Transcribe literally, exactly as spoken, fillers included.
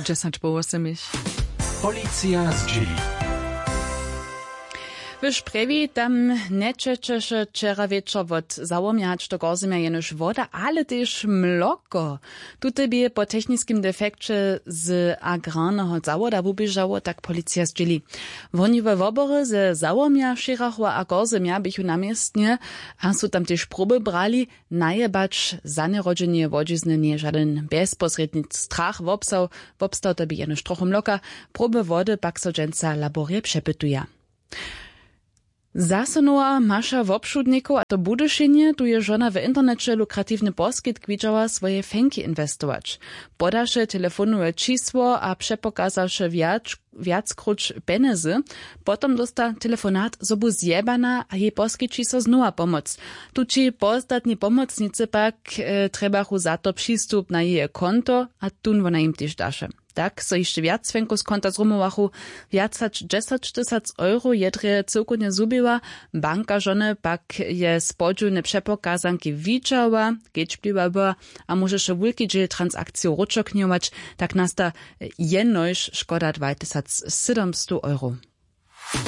Dźesać po wosomich. Policija zdźěli. W Šprjewi tam njećećeše wčera wječor wot Załomja hač do Korzemja jenož woda, ale tež mloko. Tute bě po techniskim defekće z agrarneho zawoda wuběžało, tak policija zdźěli. Woniwe wobory ze Załomja, Šěrachowa a Korzemja běchu na městnje a su tam tež proby brali. Najebać za njerodźenje wodźizny njeje žadyn bjezposrědni strach wobstał. Wobstał to bě jenož trochu mloka. Proby wody pak so dźensa laborje přepytuja. Zaso nowa maša wobšudnikow, a to w Budyšinje. Tu je žona w interneće lukratiwny poskitk widźała, swoje fenki inwestować. Podaše telefonowe čisło a přepokazaše wjac wjackróć pjenjezy. Potom dósta telefonat, zo bu zjebana a jej poskići so znowa pomoc. Tući postatni pomocnicy pak e, trjebachu za to přistup na jeje konto a tón wona jim tež daše. Tak so hišće wjac fenkow z konta zrumowachu. Wjac hač dźesać tysac euro je drje cyłkownje zhuběła. Banka žony pak je spodźiwne přepokazanki widźała, kedźbliwa była, a móžeše wulki dźěl transakcijow wróćoknjować. Tak nasta jenož škoda dwatysacsydomstow euro.